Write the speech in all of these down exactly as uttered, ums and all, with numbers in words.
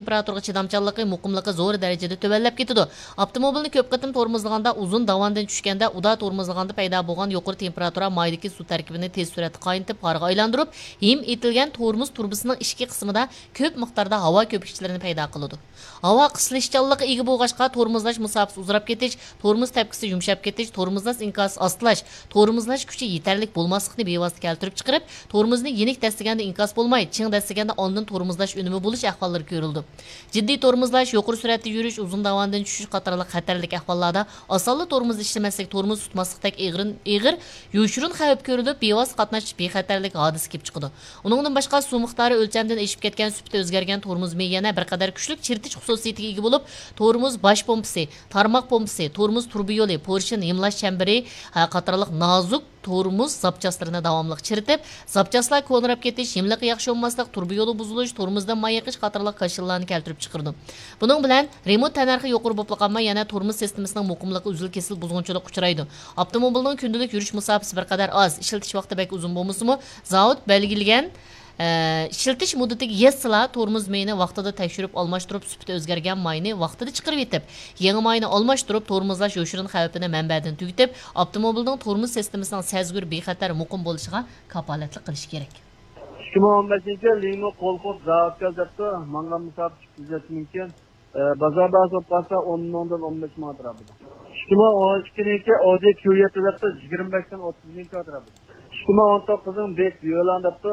تېمپېراتۇرىغا چىدامچانلىقى، مۇقىملىقى زور دەرىجىدە تۆۋەنلەپ كېتىدۇ. ئاپتوموبىلنى كۆپ قېتىم تورمۇزلىغاندا، ئۇزۇن داۋاندىن چۈشكەندە، ئۇدا تورمۇزلىغاندا پەيدا بولغان يۇقىرى تېمپېراتۇرا مايدىكى سۇ تەركىبىنى تېز سۈرئەتتە قاينىتىپ، غارغا ئايلاندۇرۇپ، ھىم ئېتىلگەن تورمۇز تۇرۇبىسىنىڭ ئىچكى قىسمىدا كۆپ مىقداردا ھاۋا كۆپۈكچىلىرىنى پەيدا قىلىدۇ. ھاۋا قىسلىشچانلىققا ئىگە بولغاچقا، تورمۇزلاش مۇساپىسى ئۇزىراپ كېتىش، تورمۇز تەپكىسى يۇمشاپ كېتىش، تورمۇزلاش ئىنكاسى ئاستىلاش، تورمۇزلاش كۈچى يېتەرلىك بولماسلىقنى بىۋاسىتە كەلتۈرۈپ چىقىرىپ، تورمۇزنى يېنىك دەسسىگەندە ئىنكاس بولماي، چىڭ دەسسىگەندە ئاندىن تورمۇزلاش ئۈنۈمى بولۇش ئەھۋاللىرى كۆرۈلىدۇ. جىددىي تورمۇزلاش، يۇقىرى سۈرئەتتە يۈرۈش، ئۇزۇن داۋاندىن چۈشۈش قاتارلىق خەتەرلىك ئەھۋاللاردا ئاسانلا تورمۇز ئىشلىمەسلىك، تورمۇز تۇتماسلىقتەك ئېغىر، ئېغىر يوشۇرۇن خەۋپ كۆرۈلۈپ، بىۋاسىتە قاتناش بىخەتەرلىك ھادىسە كېلىپ چىقىدۇ. ئۇنىڭدىن باشقا، سۇ مىقدارى ئۆلچەمدىن ئېشىپ كەتكەن، سۈپىتى ئۆزگەرگەن تورمۇز مېيى يەنە بىر قەدەر كۈچلۈك چىرىتىش خۇسۇسىيىتىگە ئىگە بولۇپ، تورمۇز باش پومپىسى، تارماق پومپىسى، تورمۇز تۇرۇبا يولى، پورشىن ھىملاش چەمبىرى، ھە، قاتارلىق نازۇك تورمۇز زاپچاسلىرىنى داۋاملىق چىرىتىپ، زاپچاسلار كونىراپ كېتىش، ھىملىقى ياخشى بولماسلىق، تۇرۇبا يولى بۇزۇلۇش، تورمۇزدىن ماي ئېقىش قاتارلىق كاشىلىلارنى كەلتۈرۈپ چىقىرىدۇ. بۇنىڭ بىلەن رېمونت تەننەرخى يۇقىرى بولۇپلا قالماي، يەنە تورمۇز سىستېمىسىنىڭ مۇقىملىقى ئۈزۈل-كېسىل بۇزغۇنچىلىققا ئۇچرايدۇ. ئاپتوموبىلنىڭ كۈندىلىك يۈرۈش مۇساپىسى بىر قەدەر ئاز، ئىشلىتىش ۋاقتى بەك ئۇزۇن بولمىسىمۇ، زاۋۇت بەلگىلىگەن، ئە، ئىشلىتىش مۇددىتىگە يەتسىلا، تورمۇز مېيىنى ۋاقتىدا تەكشۈرۈپ ئالماشتۇرۇپ، سۈپىتى ئۆزگەرگەن ماينى ۋاقتىدا چىقىرىۋېتىپ، يېڭى ماينى ئالماشتۇرۇپ، تورمۇزلاش يوشۇرۇن خەۋپىنى مەنبەدىن تۈگىتىپ، ئاپتوموبىلنىڭ تورمۇز سىستېمىسىنىڭ سەزگۈر، بىخەتەر، مۇقىم بولۇشىغا كاپالەتلىك قىلىش كېرەك. ئىككى مىڭ ئون بەشىنچى يىل لىڭمۇ قولخوپ زاۋۇتكا دەپتۇ، ماڭغان مۇساپە ئىككى يۈز يەتتە مىڭ ئىكەن. ئە، بازار باھاسى بولۇپ قالسا، ئون مىڭدىن ئون بەش مىڭ ئەتراپىدا. ئىككى مىڭ ئون ئىككىنچى ئودى كيۇ يەتتە دەپتۇ، يىگىرمە بەشتىن ئوتتۇز مىڭ ئەتراپىدا. ئىككى مىڭ ئون توققۇزنىڭ بېيت يۆلان دەپتۇ،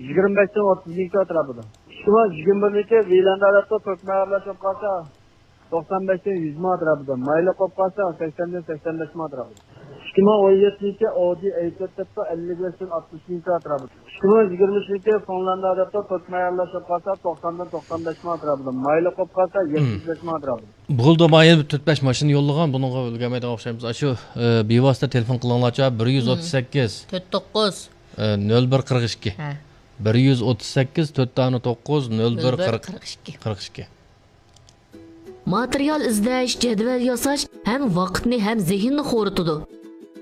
يىگىرمە بەشتىن ئوتتۇز مىڭ ئەتراپىدا. ئىككى مىڭ يىگىرمە بىرنىڭكى ۋىلاندا دەپتۇ، كۆك مەيەرلەر بولۇپ قالسا، توقسان بەشتىن يۈز مىڭ ئەتراپىدا. مايلىق بولۇپ قالسا، سەكسەندىن سەكسەن بەش مىڭ ئەتراپىدا. ئىككى مىڭ ئون يەتتىنچى ئودى ئەي تۆت دەپتۇ، ئەللىك بەشتىن ئاتمىش مىڭ ئەتراپىدا. ئىككى مىڭ يىگىرمە ئۈچىنچى فىنلاندىيە دەپتۇ، كۆك مەيەرلەر بولۇپ قالسا، توقساندىن توقسان بەش مىڭ ئەتراپىدا. مايلىق بولۇپ قالسا، يەتمىش بەش مىڭ ئەتراپىدا. بولدى، مايا تۆت بەش ماشىنا يوللىغان، بۇنىڭغا ئۈلگۈرمەيدىغان ئوخشايمىز. ئاشۇ، ئە، بىۋاسىتە تېلېفون قىلىڭلارچۇ، بىر يۈز ئوتتۇز سەككىز، تۆت توققۇز، ئە، نۆل بىر قىرىق ئىككى. ھە. بىر يۈز ئوتتۇز سەككىز، تۆت دانە توققۇز، نۆل بىر قىرىق ئىككى. قىرىق ئىككى. ماتېرىيال ئىزدەش، جەدۋەل ياساش ھەم ۋاقىتنى ھەم زېھىننى خورىتىدۇ.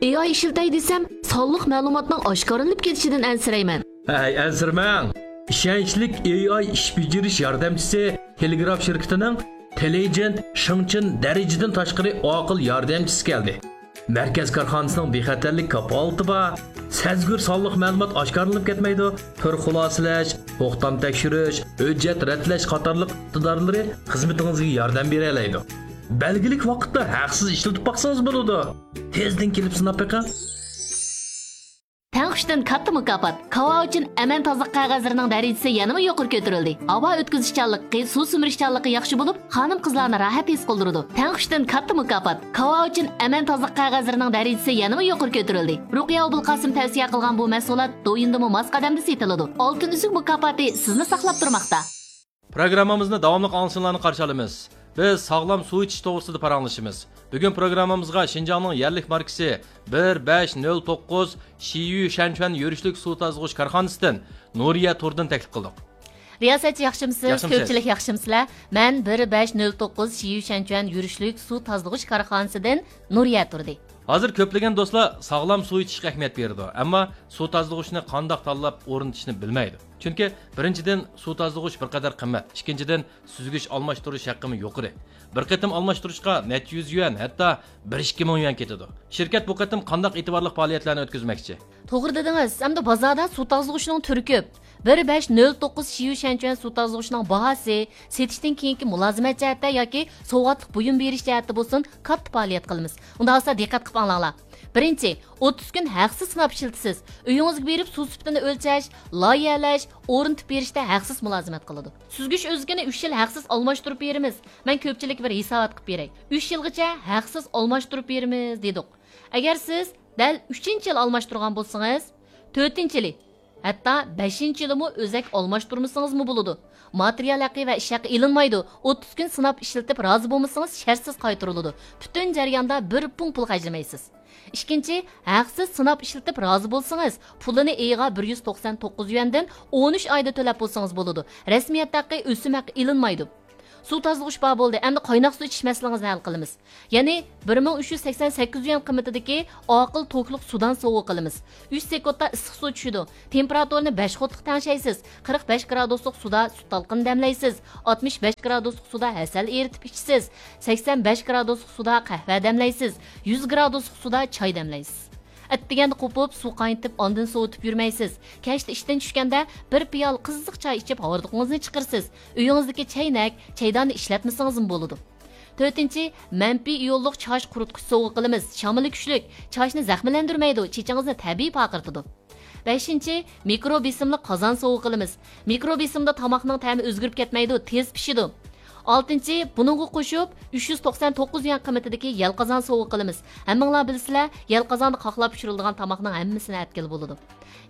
ئېي ئاي ئىشلىتەي دېسەم، سانلىق مەلۇماتنىڭ ئاشكارىلىنىپ كېتىشىدىن ئەنسىرەيمەن. ھەي، ئەنسىرىمەڭ! ئىشەنچلىك ئېي ئاي ئىش بېجىرىش ياردەمچىسى تېلېگراف شىركىتىنىڭ تېلېيجېنت شېڭچېن دەرىجىدىن تاشقىرى ئاقىل ياردەمچىسى كەلدى. مەركەز كارخانىسىنىڭ بىخەتەرلىك كاپالىتى بار. سەزگۈر سانلىق مەلۇمات ئاشكارىلىنىپ كەتمەيدۇ. تۈر خۇلاسىلەش، توختام تەكشۈرۈش، ھۆججەت رەتلەش قاتارلىق ئىقتىدارلىرى خىزمىتىڭىزگە ياردەم بېرەلەيدۇ. بەلگىلىك ۋاقىتتا ھەقسىز ئىشلىتىپ باقسىڭىز بولىدۇ. تېزدىن كېلىپ سىناپ بېقىڭ. تەڭ ئۈچتىن كاتتا مۇكاپات. كاۋاۋىچىن ئەمەن تازىلىق قەغەزلىرىنىڭ دەرىجىسى يەنىمۇ يۇقىرى كۆتۈرۈلدى. ھاۋا ئۆتكۈزۈشچانلىقى، سۇ سۈمۈرۈشچانلىقى ياخشى بولۇپ، خانىم-قىزلارنى راھەت ھېس قىلدۇرىدۇ. تەڭ ئۈچتىن كاتتا مۇكاپات. كاۋاۋىچىن ئەمەن تازىلىق قەغەزلىرىنىڭ دەرىجىسى يەنىمۇ يۇقىرى كۆتۈرۈلدى. رۇقىيە ئوبۇلقاسىم تەۋسىيە قىلغان بۇ مەھسۇلات دويىندىمۇ ماس قەدەمدە سېتىلىدۇ. ئالتۇن ئۈزۈك مۇكاپاتى سىزنى ساقلاپ تۇرماقتا. پروگراممىمىزنى داۋاملىق ئاڭلىشىڭلارنى قارشى ئالىمىز. بىز ساغلام سۇ ئىچىش توغرىسىدا پاراڭلىشىمىز. بۈگۈن پروگراممىمىزغا شىنجاڭنىڭ يەرلىك ماركىسى بىر بەش نۆل توققۇز شىيۈ شەنچۈەن يۈرۈشلۈك سۇ تازىلىغۇچ كارخانىسىدىن نۇرىيە تۇردىن تەكلىپ قىلدۇق. رىياسەتچى ياخشىمسىز؟ ياخشىمسىز؟ كۆپچىلىك ياخشىمسىلەر؟ مەن بىر بەش نۆل توققۇز شىيۈ شەنچۈەن يۈرۈشلۈك سۇ تازىلىغۇچ كارخانىسىدىن نۇرىيە تۇردى. ھازىر كۆپلىگەن دوستلار ساغلام سۇ ئىچىشكە ئەھمىيەت بېرىدۇ، ئەمما سۇ تازىلىغۇچنى قانداق تاللاپ ئورنىتىشنى بىلمەيدۇ. چۈنكى، بىرىنچىدىن، سۇ تازىلىغۇچ بىر قەدەر قىممەت، ئىككىنچىدىن، سۈزگۈچ ئالماشتۇرۇش ھەققىمۇ يۇقىرى. بىر قېتىم ئالماشتۇرۇشقا نەچچە يۈز يۈەن، ھەتتا بىر ئىككى مىڭ يۈەن كېتىدۇ. شىركەت بۇ قېتىم قانداق ئېتىبارلىق پائالىيەتلەرنى ئۆتكۈزمەكچى؟ توغرا دېدىڭىز، ئەمدى بازاردا سۇ تازىلىغۇچنىڭ تۈرى كۆپ. بىر بەش نۆل توققۇز شىيۈ شەنچۈەن سۇ تازىلىغۇچنىڭ باھاسى سېتىشتىن كېيىنكى مۇلازىمەت جەھەتتە ياكى سوۋغاتلىق بۇيۇم بېرىش جەھەتتە بولسۇن، كاتتا پائالىيەت قىلىمىز. ئۇنداق بولسا دىققەت قىلىپ ئاڭلاڭلار. بىرىنچى، ئوتتۇز كۈن ھەقسىز سىناپ ئىشلىتىسىز. ئۆيىڭىزگە بېرىپ سۇ سۈپىتىنى ئۆلچەش، لايىھەلەش، ئورنىتىپ بېرىشتە ھەقسىز مۇلازىمەت قىلىدۇ. سۈزگۈچ ئۆزىكىنى ئۈچ يىل ھەقسىز ئالماشتۇرۇپ بېرىمىز. مەن كۆپچىلىككە بىر ھېسابات قىلىپ بېرەي. ئۈچ يىلغىچە ھەقسىز ئالماشتۇرۇپ بېرىمىز دېدۇق. ئەگەر سىز دەل ئۈچىنچى يىلى ئالماشتۇرغان بولسىڭىز، تۆتىنچى يىلى، ھەتتا بەشىنچى يىلىمۇ ئۆزەك ئالماشتۇرمىسىڭىزمۇ بولىدۇ. ماتېرىيال ھەققى ۋە ئىش ھەققى ئېلىنمايدۇ. ئوتتۇز كۈن سىناپ ئىشلىتىپ رازى بولمىسىڭىز، شەرتسىز قايتۇرۇلىدۇ. پۈتۈن جەرياندا بىر پۇڭ پۇل خەجلىمەيسىز. ئىككىنچى، ھەقسىز سىناپ ئىشلىتىپ رازى بولسىڭىز، پۇلىنى ئېيىغا بىر يۈز توقسان توققۇز يۈەندىن ئون ئۈچ ئايدا تۆلەپ بولسىڭىز بولىدۇ. رەسمىيەت ھەققى، ئۆسۈم ھەققى ئېلىنمايدۇ. سۇ تازىلىغۇچ بار بولدى، ئەمدى قايناق سۇ ئىچىش مەسىلىڭىزنى ھەل قىلىمىز. يەنى بىر مىڭ ئۈچ يۈز سەكسەن سەككىز يۈەن قىممىتىدىكى ئاقىل توكلۇق سۇدان سوۋغا قىلىمىز. ئۈچ سېكۇنتتا ئىسسىق سۇ چۈشىدۇ. تېمپېراتۇرىنى بەش قۇتلۇق تەڭشەيسىز. قىرىق بەش گرادۇسلۇق سۇدا سۈت تالقىنى دەملەيسىز. ئاتمىش بەش گرادۇسلۇق سۇدا ھەسەل ئېرىتىپ ئىچىسىز. سەكسەن بەش گرادۇسلۇق سۇدا قەھۋە دەملەيسىز. يۈز گرادۇسلۇق سۇدا چاي دەملەيسىز. ئەتىگەندە قوپۇپ، سۇ قاينىتىپ، ئاندىن سوۋۇتۇپ يۈرمەيسىز. كەچتە ئىشتىن چۈشكەندە بىر پىيالە قىزىق چاي ئىچىپ، ھاردۇقىڭىزنى چىقىرىسىز. ئۆيىڭىزدىكى چەينەك، چەيداننى ئىشلەتمىسىڭىزمۇ بولىدۇ. تۆتىنچى، مەنپىي ئىيونلۇق چاچ قۇرۇتقۇچ سوۋغا قىلىمىز. شامىلى كۈچلۈك، چاچنى زەخىملەندۈرمەيدۇ، چېچىڭىزنى تەبىئىي پارقىرىتىدۇ. بەشىنچى، مىكرو بېسىملىق قازان سوۋغا قىلىمىز. مىكرو بېسىمدا تاماقنىڭ تەمى ئۆزگىرىپ كەتمەيدۇ، تېز پىشىدۇ. ئالتىنچى، بۇنىڭغا قوشۇپ، ئۈچ يۈز توقسان توققۇز يۈەن قىممىتىدىكى يەلقازان سوۋغا قىلىمىز. ھەممىڭلار بىلىسىلەر، يەلقازاندا قاقلاپ پىشۇرۇلىدىغان تاماقنىڭ ھەممىسىنى ئەتكىلى بولىدۇ.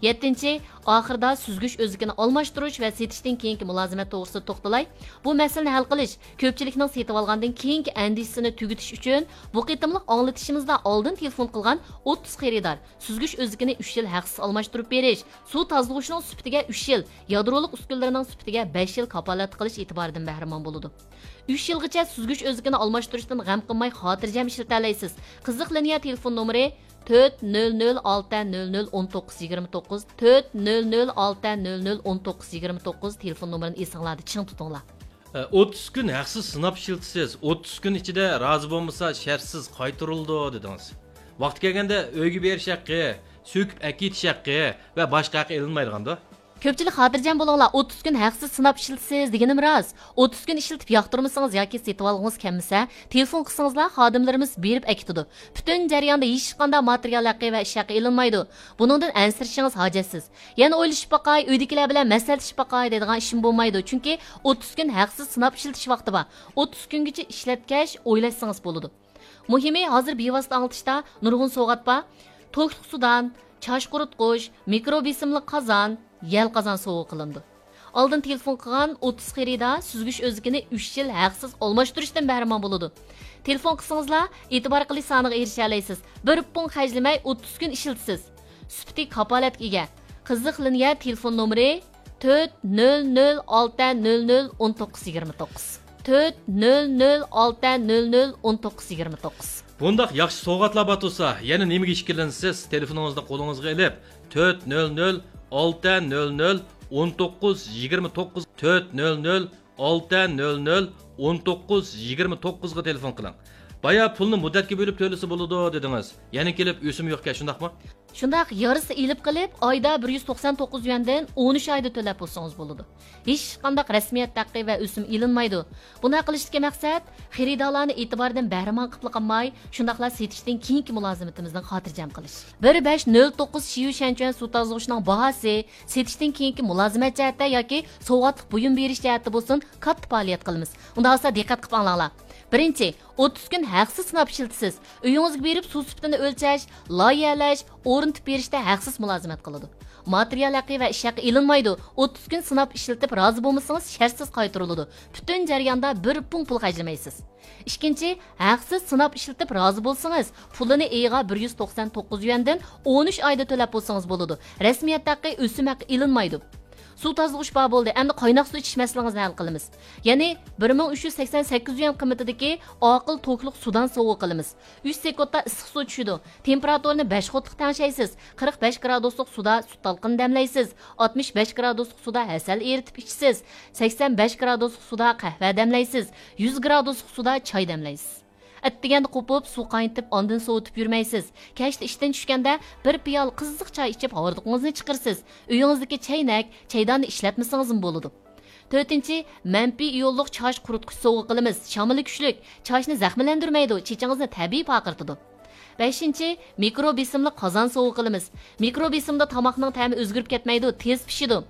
يەتتىنچى، ئاخىرىدا سۈزگۈچ ئۆزىكىنى ئالماشتۇرۇش ۋە سېتىشتىن كېيىنكى مۇلازىمەت توغرىسىدا توختىلاي. بۇ مەسىلىنى ھەل قىلىش، كۆپچىلىكنىڭ سېتىۋالغاندىن كېيىنكى ئەندىشىسىنى تۈگىتىش ئۈچۈن، بۇ قېتىملىق ئاڭلىتىشىمىزدا ئالدىن تېلېفون قىلغان ئوتتۇز خېرىدار سۈزگۈچ ئۆزىكىنى ئۈچ يىل ھەقسىز ئالماشتۇرۇپ بېرىش، سۇ تازىلىغۇچىنىڭ سۈپىتىگە ئۈچ يىل، يادرولۇق ئۈسكۈنىلىرىنىڭ سۈپىتىگە بەش يىل كاپالەتلىك قىلىش ئېتىبارىدىن بەھرىمەن بولىدۇ. ئۈچ يىلغىچە سۈزگۈچ ئۆزىكىنى ئالماشتۇرۇشتىن غەم قىلماي، خاتىرجەم ئىشلىتەلەيسىز. قىزىق لىنىيە تېلېفون نومۇرى تۆت نۆل نۆل ئالتە نۆل نۆل ئون توققۇز يىگىرمە توققۇز، تۆت نۆل نۆل ئالتە نۆل نۆل ئون توققۇز يىگىرمە توققۇز تېلېفون نومۇرىنى ئېسىڭلاردا چىڭ تۇتۇڭلار. ئە، ئوتتۇز كۈن ھەقسىز سىناپ ئىشلىتىسىز، ئوتتۇز كۈن ئىچىدە رازى بولمىسا شەرتسىز قايتۇرۇلىدۇ دېدىڭىز. ۋاقتى كەلگەندە ئۆيگە بېرىش ھەققى، سۆكۈپ ئەكېتىش ھەققى ۋە باشقا ھەققى ئېلىنمايدىغاندۇ؟ كۆپچىلىك خاتىرجەم بولۇڭلار، ئوتتۇز كۈن ھەقسىز سىناپ ئىشلىتىسىز دېگىنىم راست. ئوتتۇز كۈن ئىشلىتىپ ياقتۇرمىسىڭىز ياكى سېتىۋالغۇڭىز كەلمىسە، تېلېفون قىلسىڭىزلا خادىملىرىمىز بېرىپ ئەكېتىدۇ. پۈتۈن جەرياندا ھېچقانداق ماتېرىيال ھەققى ۋە ئىش ھەققى ئېلىنمايدۇ. بۇنىڭدىن ئەنسىرىشىڭىز ھاجەتسىز. يەنە ئويلىشىپ باقاي، ئۆيدىكىلەر بىلەن مەسلىھەتلىشىپ باقاي دەيدىغان ئىشمۇ بولمايدۇ، چۈنكى ئوتتۇز كۈن ھەقسىز سىناپ ئىشلىتىش ۋاقتى بار. ئوتتۇز كۈنگىچە ئىشلەتكەچ ئويلاشسىڭىز بولىدۇ. مۇھىمى، ھازىر بىۋاسىتە ئاڭلىتىشتا نۇرغۇن سوۋغات بار. توكلۇق سۇدان، چاچ قۇرۇتقۇچ، مىكرو بېسىملىق قازان، يەل قازان سوۋغا قىلىنىدۇ. ئالدىن تېلېفون قىلغان ئوتتۇز خېرىدار سۈزگۈچ ئۆزىكىنى ئۈچ يىل ھەقسىز ئالماشتۇرۇشتىن بەھرىمەن بولىدۇ. تېلېفون قىلسىڭىزلا، ئېتىبار قىلىش سانىغا ئېرىشەلەيسىز. بىر پۇڭ خەجلىمەي ئوتتۇز كۈن ئىشلىتىسىز. سۈپىتى كاپالەتكە ئىگە. قىزىق لىنىيە تېلېفون نومۇرى تۆت نۆل نۆل ئالتە نۆل نۆل ئون توققۇز يىگىرمە توققۇز. تۆت نۆل نۆل ئالتە نۆل نۆل ئون توققۇز يىگىرمە توققۇز. بۇنداق ياخشى سوۋغاتلار بار تۇرسا، يەنە نېمىگە ئىككىلىنىسىز؟ تېلېفونىڭىزنى قولىڭىزغا ئېلىپ، تۆت نۆل نۆل ئالتە نۆل نۆل ئون توققۇز يىگىرمە توققۇز، تۆت نۆل نۆل ئالتە نۆل نۆل ئون توققۇز يىگىرمە توققۇزغا تېلېفون قىلىڭ. بايا پۇلنى مۇددەتكە بۆلۈپ تۆلىسە بولىدۇ دېدىڭىز. يەنە كېلىپ ئۆسۈم يوقكەن، شۇنداقمۇ؟ شۇنداق، يارىسى ئېلىپ قېلىپ، ئايدا بىر يۈز توقسان توققۇز يۈەندىن ئون ئۈچ ئايدا تۆلەپ بولسىڭىز بولىدۇ. ھېچقانداق رەسمىيەت ھەققى ۋە ئۆسۈم ئېلىنمايدۇ. بۇنداق قىلىشتىكى مەقسەت، خېرىدارلارنى ئېتىباردىن بەھرىمەن قىلىپلا قالماي، شۇنداقلا سېتىشتىن كېيىنكى مۇلازىمىتىمىزنى خاتىرجەم قىلىش. بىر بەش نۆل توققۇز شيۈشەنچۈەن سۇ تازىلىغۇچىنىڭ باھاسى سېتىشتىن كېيىنكى مۇلازىمەت جەھەتتە ياكى سوۋغاتلىق بۇيۇم بېرىش جەھەتتە بولسۇن، كاتتا پائالىيەت قىلىمىز. ئۇنداق بولسا دىققەت قىلىپ ئاڭلاڭلار. بىرىنچى، ئوتتۇز كۈن ھەقسىز سىناپ ئىشلىتىسىز. ئۆيىڭىزگە بېرىپ سۇ سۈپىتىنى ئۆلچەش، لايىھەلەش، ئورنىتىپ بېرىشتە ھەقسىز مۇلازىمەت قىلىدۇ. ماتېرىيال ھەققى ۋە ئىش ھەققى ئېلىنمايدۇ. ئوتتۇز كۈن سىناپ ئىشلىتىپ رازى بولمىسىڭىز شەرتسىز قايتۇرۇلىدۇ. پۈتۈن جەرياندا بىر پۇڭ پۇل خەجلىمەيسىز. ئىككىنچى، ھەقسىز سىناپ ئىشلىتىپ رازى بولسىڭىز، پۇلىنى ئېيىغا بىر يۈز توقسان توققۇز يۈەندىن ئون ئۈچ ئايدا تۆلەپ بولسىڭىز بولىدۇ. رەسمىيەت ھەققى، ئۆسۈم ھەققى ئېلىنمايدۇ. سۇ تازىلىغۇچ بار بولدى، ئەمدى قايناق سۇ ئىچىش مەسىلىڭىزنى ھەل قىلىمىز. يەنى بىر مىڭ ئۈچ يۈز سەكسەن سەككىز يۈەن قىممىتىدىكى ئاقىل توكلۇق سۇدان سوۋغا قىلىمىز. ئۈچ سېكۇنتتا ئىسسىق سۇ چۈشىدۇ. تېمپېراتۇرىنى بەش قۇتلۇق تەڭشەيسىز. قىرىق بەش گرادۇسلۇق سۇدا سۈت تالقىنى دەملەيسىز. ئاتمىش بەش گرادۇسلۇق سۇدا ھەسەل ئېرىتىپ ئىچىسىز. سەكسەن بەش گرادۇسلۇق سۇدا قەھۋە دەملەيسىز. يۈز گرادۇسلۇق سۇدا چاي دەملەيسىز. ئەتىگەندە قوپۇپ، سۇ قاينىتىپ، ئاندىن سوۋۇتۇپ يۈرمەيسىز. كەچتە ئىشتىن چۈشكەندە بىر پىيالە قىزىق چاي ئىچىپ، ھاردۇقىڭىزنى چىقىرىسىز. ئۆيىڭىزدىكى چەينەك، چەيداننى ئىشلەتمىسىڭىزمۇ بولىدۇ. تۆتىنچى، مەنپىي ئىيونلۇق چاچ قۇرۇتقۇچ سوۋغا قىلىمىز. شامىلى كۈچلۈك، چاچنى زەخىملەندۈرمەيدۇ، چېچىڭىزنى تەبىئىي پارقىرىتىدۇ. بەشىنچى، مىكرو بېسىملىق قازان سوۋغا قىلىمىز. مىكرو بېسىمدا تاماقنىڭ تەمى ئۆزگىرىپ كەتمەيدۇ، تېز پىشىدۇ.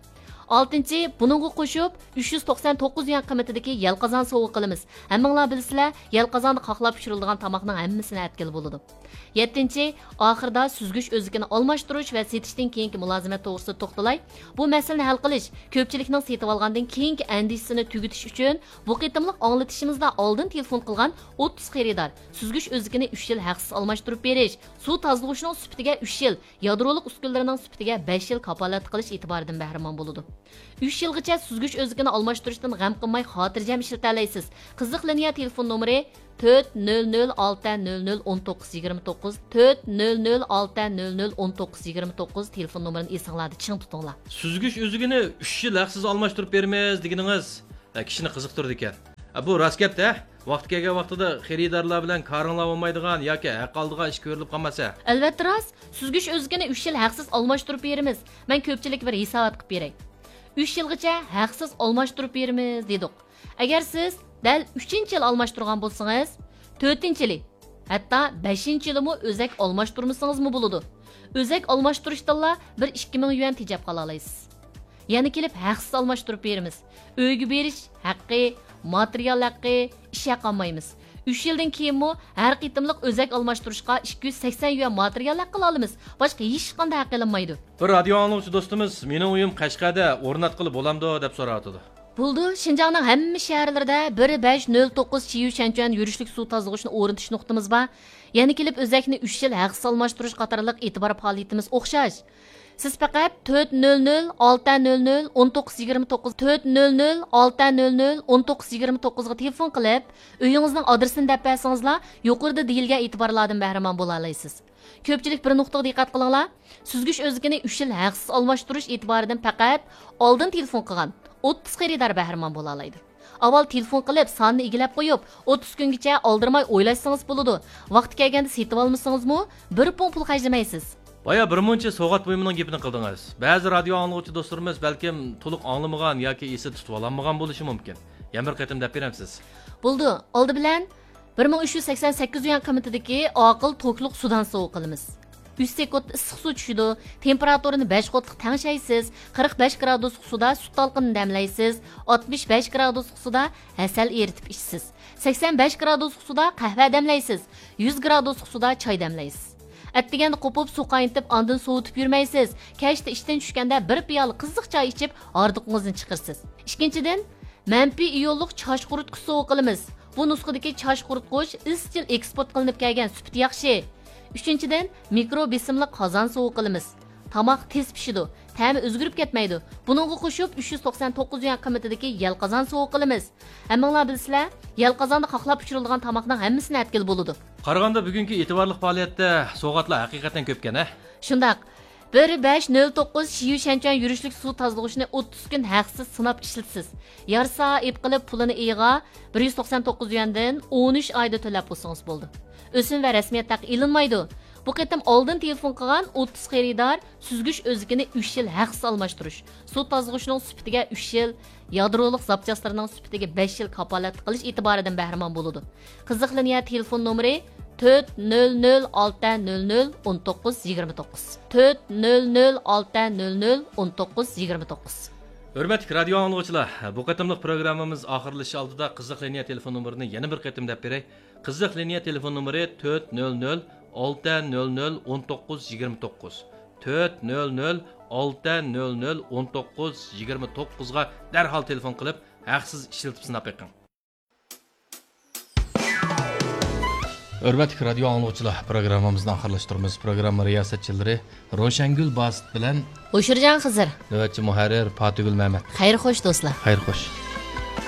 ئالتىنچى، بۇنىڭغا قوشۇپ، ئۈچ يۈز توقسان توققۇز يۈەن قىممىتىدىكى يەل قازان سوۋغا قىلىمىز. ھەممىڭلار بىلىسىلەر، يەل قازاندا قاقلاپ پىشۇرۇلىدىغان تاماقنىڭ ھەممىسىنى ئەتكىلى بولىدۇ. يەتتىنچى، ئاخىرىدا سۈزگۈچ ئۆزىكىنى ئالماشتۇرۇش ۋە سېتىشتىن كېيىنكى مۇلازىمەت توغرىسىدا توختىلاي. بۇ مەسىلىنى ھەل قىلىش، كۆپچىلىكنىڭ سېتىۋالغاندىن كېيىنكى ئەندىشىسىنى تۈگىتىش ئۈچۈن، بۇ قېتىملىق ئاڭلىتىشىمىزدا ئالدىن تېلېفون قىلغان ئوتتۇز خېرىدار سۈزگۈچ ئۆزىكىنى ئۈچ يىل ھەقسىز ئالماشتۇرۇپ بېرىش، سۇ تازىلىغۇچىنىڭ سۈپىتىگە ئۈچ يىل، يادرولۇق ئۈسكۈنىلىرىنىڭ سۈپىتىگە بەش يىل كاپالەتلىك قىلىش ئېتىبارىدىن بەھرىمەن بولىدۇ. ئۈچ يىلغىچە سۈزگۈچ ئۆزىكىنى ئالماشتۇرۇشتىن غەم قىلماي خاتىرجەم ئىشلىتەلەيسىز. قىزىق لىنىيە تېلېفون نومۇرى تۆت نۆل نۆل ئالتە نۆل نۆل ئون توققۇز يىگىرمە توققۇز، تۆت نۆل نۆل ئالتە نۆل نۆل ئون توققۇز يىگىرمە توققۇز تېلېفون نومۇرىنى ئېسىڭلاردا چىڭ تۇتۇڭلار. سۈزگۈچ ئۈزۈكىنى ئۈچ يىل ھەقسىز ئالماشتۇرۇپ بېرىمىز دېگىنىڭىز، ھە، كىشىنى قىزىقتۇرىدىكەن. ھە، بۇ راست گەپتە. ۋاقتى كەلگەن ۋاقتىدا خېرىدارلار بىلەن كارىڭلار بولمايدىغان ياكى ھەق ئالىدىغان ئىش كۆرۈلۈپ قالماسا. ئەلۋەتتە راست، سۈزگۈچ ئۆزىكىنى ئۈچ يىل ھەقسىز ئالماشتۇرۇپ بېرىمىز. مەن كۆپچىلىككە بىر ھېسابات قىلىپ بېرەي. ئۈچ يىلغىچە ھەقسىز ئالماشتۇرۇپ بېرىمىز دېدۇق. ئەگەر سىز دەل ئۈچىنچى يىلى ئالماشتۇرغان بولسىڭىز، تۆتىنچى يىلى، ھەتتا بەشىنچى يىلىمۇ ئۆزەك ئالماشتۇرمىسىڭىزمۇ بولىدۇ. ئۆزەك ئالماشتۇرۇشتىنلا بىر ئىككى مىڭ يۈەن تېجەپ قالالايسىز. يەنە كېلىپ ھەقسىز ئالماشتۇرۇپ بېرىمىز. ئۆيگە بېرىش ھەققى، ماتېرىيال ھەققى، ئىش ھەققى ئالمايمىز. ئۈچ يىلدىن كېيىنمۇ ھەر قېتىملىق ئۆزەك ئالماشتۇرۇشقا ئىككى يۈز سەكسەن يۈەن ماتېرىيال ھەققىلا ئالىمىز. باشقا ھېچقانداق ھەق ئېلىنمايدۇ. بىر رادىيو ئاڭلىغۇچى دوستىمىز، مېنىڭ ئۆيۈم قەشقەردە، ئورناتقىلى بولامدۇ دەپ سوراۋاتىدۇ. بولىدۇ، شىنجاڭنىڭ ھەممە شەھەرلىرىدە بىر بەش نۆل توققۇز شيۈشەنچۈەن يۈرۈشلۈك سۇ تازىلىغۇچنى ئورنىتىش نۇقتىمىز بار. يەنە كېلىپ ئۆزەكنى ئۈچ يىل ھەقسىز ئالماشتۇرۇش قاتارلىق ئېتىبار پائالىيىتىمىز ئوخشاش. سىز پەقەت تۆت نۆل نۆل ئالتە نۆل نۆل ئون توققۇز يىگىرمە توققۇز، تۆت نۆل نۆل ئالتە نۆل نۆل ئون توققۇز يىگىرمە توققۇزغا تېلېفون قىلىپ، ئۆيىڭىزنىڭ ئادرېسىنى دەپ بەرسىڭىزلا، يۇقىرىدا دېيىلگەن ئېتىبارلاردىن بەھرىمەن بولالايسىز. كۆپچىلىك بىر نۇقتىغا دىققەت قىلىڭلار، سۈزگۈچ ئۆزىكىنى ئۈچ يىل ھەقسىز ئالماشتۇرۇش ئېتىبارىدىن پەقەت ئالدىن تېلېفون قىلغان ئوتتۇز خېرىدار بەھرىمەن بولالايدۇ. ئاۋۋال تېلېفون قىلىپ، ساننى ئىگىلەپ قويۇپ، ئوتتۇز كۈنگىچە ئالدىرىماي ئويلاشسىڭىز بولىدۇ. ۋاقتى كەلگەندە سېتىۋالمىسىڭىزمۇ، بىر پۇڭ پۇل خەجلىمەيسىز. بايا بىر مۇنچە سوۋغات بۇيۇمىنىڭ گېپىنى قىلدىڭىز. بەزى رادىيو ئاڭلىغۇچى دوستلىرىمىز بەلكىم تولۇق ئاڭلىمىغان ياكى ئېسىدە تۇتۇۋالالمىغان بولۇشى مۇمكىن. يەنە بىر قېتىم دەپ بېرەمسىز؟ بولىدۇ. ئالدى بىلەن بىر مىڭ ئۈچ يۈز سەكسەن سەككىز يۈەن قىممىتىدىكى ئاقىل توكلۇق سۇدان سوۋغا قىلىمىز. ئۈچ سېكۇنتتا ئىسسىق سۇ چۈشىدۇ. تېمپېراتۇرىنى بەش قوتلۇق تەڭشەيسىز. قىرىق بەش گرادۇسلۇق سۇدا سۈت تالقىنىنى دەملەيسىز. ئاتمىش بەش گرادۇسلۇق سۇدا ھەسەل ئېرىتىپ ئىچىسىز. سەكسەن بەش گرادۇسلۇق سۇدا قەھۋە دەملەيسىز. يۈز گرادۇسلۇق سۇدا چاي دەملەيسىز. ئەتىگەندە قوپۇپ سۇ قاينىتىپ ئاندىن سوۋۇتۇپ يۈرمەيسىز. كەچتە ئىشتىن چۈشكەندە بىر پىيالە قىزىق چاي ئىچىپ ھاردۇقىڭىزنى چىقىرىسىز. ئىككىنچىدىن، مەنپىي ئىيونلۇق چاچ قۇرۇتقۇچ سوۋغا قىلىمىز. بۇ نۇسخىدىكى چاچ قۇرۇتقۇچ ئىزچىل ئېكسپورت قىلىنىپ كەلگەن، سۈپىتى ياخشى. ئۈچىنچىدىن، مىكرو بېسىملىق قازان سوۋغا قىلىمىز. تاماق تېز پىشىدۇ، تەمى ئۆزگىرىپ كەتمەيدۇ. بۇنىڭغا قوشۇپ ئۈچ يۈز توقسان توققۇز يۈەن قىممىتىدىكى يەل قازان سوۋغا قىلىمىز. ھەممىڭلار بىلىسىلەر، يەل قازاندا قاقلاپ پىشۇرۇلىدىغان تاماقنىڭ ھەممىسىنى ئەتكىلى بولىدۇ. قارىغاندا بۈگۈنكى ئېتىبارلىق پائالىيەتتە سوۋغاتلار ھەقىقەتەن كۆپكەن، ھە؟ شۇنداق. بىر بەش نۆل توققۇز شيۈشەنچۈەن يۈرۈشلۈك سۇ تازىلىغۇچنى ئوتتۇز كۈن ھەقسىز سىناپ ئىشلىتىسىز. يارىسا ئېپ قىلىپ پۇلىنى ئېيىغا بىر يۈز توقسان توققۇز يۈەندىن ئون ئۈچ ئايدا تۆلەپ بولسىڭىز بولىدۇ. ئۆسۈم ۋە رەسمىيەت ھەققى ئېلىنمايدۇ. بۇ قېتىم ئالدىن تېلېفون قىلغان ئوتتۇز خېرىدار سۈزگۈچ ئۆزىكىنى ئۈچ يىل ھەقسىز ئالماشتۇرۇش، سۇ تازىلىغۇچنىڭ سۈپىتىگە ئۈچ يىل، يادرولۇق زاپچاسلىرىنىڭ سۈپىتىگە بەش يىل كاپالەتلىك قىلىش ئېتىبارىدىن بەھرىمەن بولىدۇ. قىزىق لىنىيە تېلېفون نومۇرى تۆت نۆل نۆل ئالتە نۆل نۆل ئون توققۇز يىگىرمە توققۇز، تۆت نۆل نۆل ئالتە نۆل نۆل ئون توققۇز يىگىرمە توققۇز. ھۆرمەتلىك رادىيو ئاڭلىغۇچىلار، بۇ قېتىملىق پروگراممىمىز ئاخىرلىشىش ئالدىدا قىزىق لىنىيە تېلېفون نومۇرىنى يەنە بىر قېتىم دەپ بېرەي. قىزىق لىنىيە تېلېفون نومۇرى تۆت نۆل نۆل ئالتە نۆل نۆل ئون توققۇز يىگىرمە توققۇز، تۆت نۆل نۆل ئالتە نۆل نۆل ئون توققۇز يىگىرمە توققۇزغا دەرھال تېلېفون قىلىپ، ھەقسىز ئىشلىتىپ سىناپ بېقىڭ. ھۆرمەتلىك رادىيو ئاڭلىغۇچىلار، پروگراممىمىزنى ئاخىرلاشتۇرىمىز. پروگرامما رىياسەتچىلىرى روشەنگۈل باسىت بىلەن ھوشۇرجان خىزىر. نۆۋەتچى مۇھەررىر پاتىگۈل مەمەت. خەير خوش دوستلار. خەير خوش.